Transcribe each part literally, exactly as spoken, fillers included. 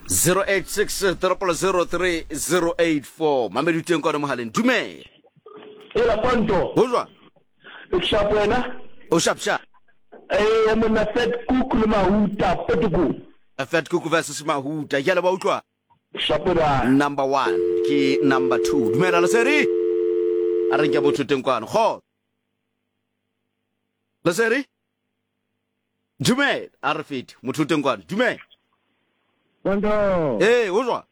Zero eight six triple zero three zero eight four. Mamedi teng kwana mohaleng. Dumela. Ela Ponto. Ho jwang? E sharp wena? O sharp sharp. Eh monna Fat Cook le Mahuta Potoko. Fat Cook versus Mahuta. Ke a le ba utlwa. Sharp ba. Number one ke number two. Dumela Lesedi. A re nke motho teng kwano. Kgo. Lesedi. Dumela, a re fete. Motho teng kwano. Dumela. Ponto. Eh, o jwang?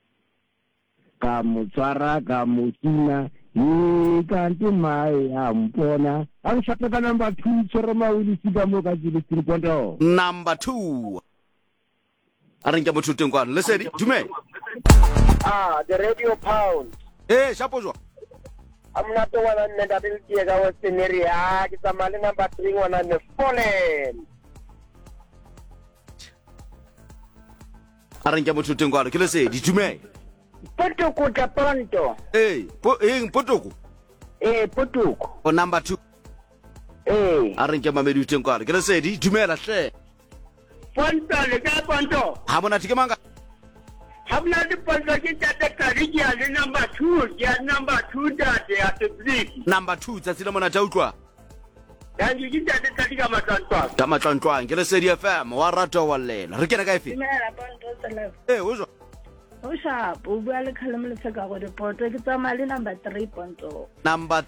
Ka mo tshwara ka mo tina. Ye kanti mae a mpona. A re ka number two tshwere mawili sika mo ka jile street Ponto. Number two. A re nke motho teng kwano. Lesedi, dumela. Ah, the radio pound. Eh, shapo jwang? I'm not the one that will be ka Western area. Ah, ke tsamaya le number three ngwana ne Fallen. A re nke motho teng kwano. Ke Lesedi, dumela. Potoko tla Ponto. Eh, po eng Potoko? Eh, Potoko. O number two. Eh. A re nke mamedi teng kwano. Ke Lesedi, dumela hle. Ponto le ka Ponto. Ha monate ke manga. Ha monate Ponto ke ntate Kadi ke a le number two, ke a number two ntate ya Sebliki. Number two tsatsi la monate a utlwa. Thank you, ke ntate Kadi ka matlwantlwang. Ka matlwantlwang ke Lesedi F M wa rata wa llela. Re kena ka efe? Dumela Ponto tsela. Eh, o jwang? O sharp, o bua le Kgalemo Lefeka go dipoto ke tsamaya le number three Ponto. Number